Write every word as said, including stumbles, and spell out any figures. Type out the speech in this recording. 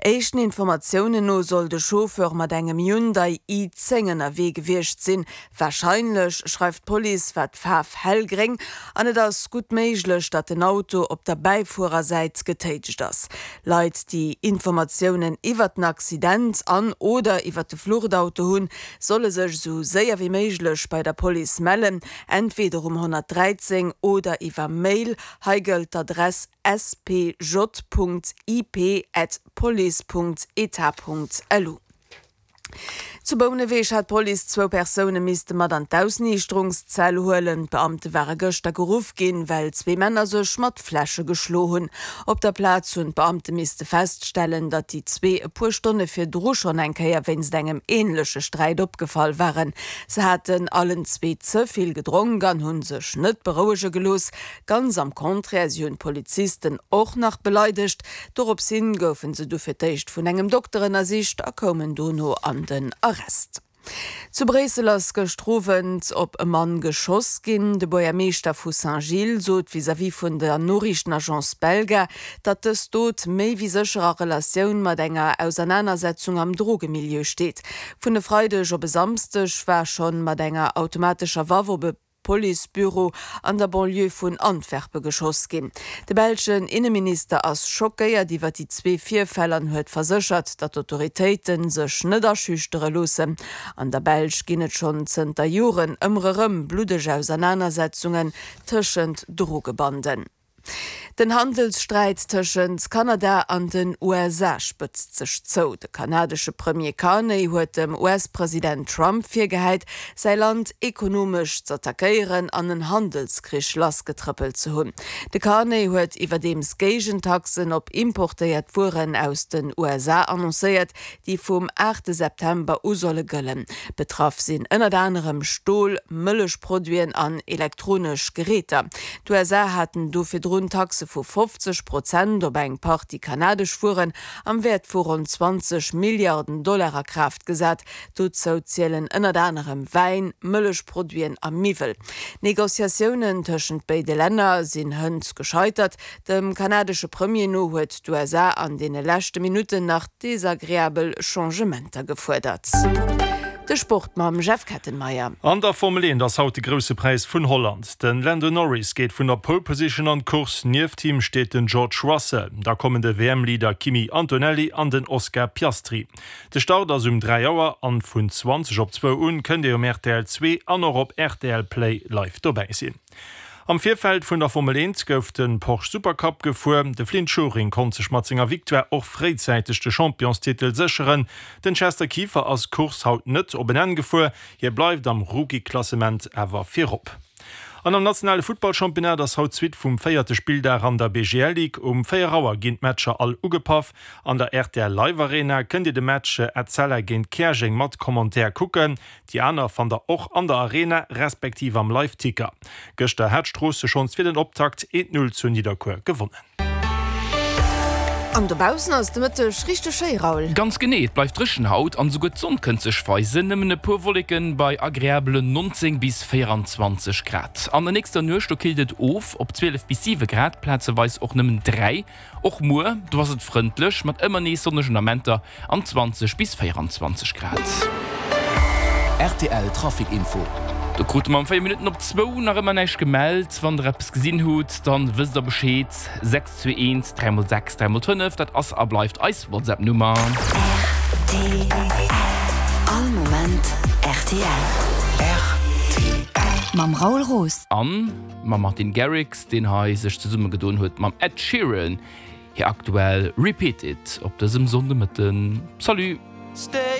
Éischten Informatiounen no soll de Chauffeur mat engem Hyundai i zéng ënnerwee gewiescht sinn. Warscheinlech, schreift d'Police, war d'Faarf hellgréng an et ass gutt méiglech, datt den Auto op der Bäifuerersäit getéitscht ass. Leit, déi Informatiounen iwwert den Accident an oder iwwert de Fluchtauto hunn, solle sech esou séier wéi méiglech bei der Police mellen, entweder um honnertdräizéng oder iwwer Mail. Hei gëllt d'Adress spj.ip@police.etat.lu. Zu Bouneweg hat d'Police zwou Persoune misste mat an d'Ausniichterungszell huelen. D'Beamte ware gëschter geruff ginn, well zwee Männer sech mat Fläsche geschlo hunn. Op der Plaz hunn d'Beamte misste feststellen, datt déi zwee e puer Stonne virdru schonn eng Kéier wéinst engem änleche Sträit opgefall waren. Se haten allen zwee ze vill gedronk an hu sech net berouege gelooss. Ganz am Contraire, si hunn d'Polizisten och nach beleidegt. Dorops hin goufen se du fir d'éischt vun engem Dokter ënnersicht a koumen dono an den Arrest. Zu Bréissel ass gëschter Owend op e Mann geschoss ginn. De Buergermeeschter vu Saint-Gilles sot vis-à-vis vun der Noriichtenagence Belga, datt dës Dot méi wéi sécher a Relatioun mat enger Ausernanersetzung am Drogemilieu steet. Vun e Freideg op e Samsdeg war schonn mat enger automatescher Waff op e Policebüro an der Banlieue vun Antwerpe geschoss ginn. De belschen Inneminister ass schockéiert iwwer déi zwee Virfäll an huet verséchert, datt d'Autoritéite sech net aschüchtere loossen. An der Belsch ginn et schonn zënter Joren ëmmer erëm bluddeg Ausernanersetzungen tëschent Drogebanden. Den Handelssträit tëschent Kanada an den U S A spëtzt sech zou. De kanadesche Premier Carney huet dem U S-President Trump virgehäit, säi Land ekonomesch z'attackéieren an en Handelskrich lassgetrëppelt ze hunn. De Carney huet iwwerdeems Géigentaxen op importéiert Wueren aus den U S A annoncéiert, déi vum aachte September u solle gëllen. Betraff sinn ënnert anerem Stol, Mëllechproduiten an elektronesch Geräter. D'U S A haten do virdrun Taxe vu fofzeg Prozent op eng Partie kanadesch Wueren am Wäert vu ronn zwanzeg Milliarden Dollar a Kraaft gesat. Dozou zielen ënnert anerem Wäin, Mëllechproduiten a Miwwel. D'Negociatiounen tëschent béide Länner sinn hënt gescheitert. Dem kanadesche Premier no huet d'U S A an deene leschte Minutten nach desagreabel Changementer gefuerdert. De Sport mam Jeff Kettenmeyer. An der Formel eent ass haut de grousse Präis vun Holland. Den Lando Norris geet vun der Pole Position an d'Course. Nieft him steet den George Russell. Da kommen de W M-Leader Kimi Antonelli an den Oscar Piastri. De Start ass um dräi Auer an vun zwanzeg op zwou un kënnt Dir um R T L zwee an och op R T L Play live dobäi sinn. Am Virfeld vun der Formel eent gouf den Porsche Supercup gefuer. De Flynt Schuring konnt sech mat senger Victoire och fréizäiteg de Championstitel sécheren. Den Chester Kieffer ass Kurs haut net op en Enn gefuer. Hie bleift am Rookie-Klassement awer virop. An am nationale Futtballchampionnat ass haut d'Suite vum véierte Spilldag an der B G L Ligue. Um véier Auer ginn d'Matcher all ugepaff. An der R T L Live Arena kënnt Dir de Match Etzella géint Käerjeng mat Commentaire kucken. Déi aner fannt der och an der Arena, respektiv am Live-Ticker. Gëschter hat Stroosse schonns fir den Optakt eent null zu Nidderkuer gewonnen. An dobaussen ass de Mëtteg richteg schéi, Raoul. Ganz genee, et bleift dréchen haut an esouguer d'Sonn kënnt sech weisen. Nëmmen e puer Wolleken bei agreabelen neunzéng bis véierundzwanzeg Grad. An der nächster Nuecht do killt et of op zwielef bis siwe Grad, plazeweis och nëmmen dräi. Och muer, do ass et frëndlech mat ëmmer nees sonnegen Amenter an zwanzeg bis véierundzwanzeg Grad. R T L Trafic Info. Do krute mer am véier Minutten op zwou nach ëmmer näischt gemellt. Wann der eppes gesinn hutt, dann wësst der Bescheed. sechs zwee eent dräi mol sechs dräi mol fënnef, dat ass a bleift eis WhatsApp-Nummer. R T L. All Moment R T L. R T L. Mam Raoul Roos. An mam Martin Garrix, deen hei sech zesummegedoen huet mam Ed Sheeran. Hir aktuell Repeat It op dësem Sonndemëtten. Salut! Stay.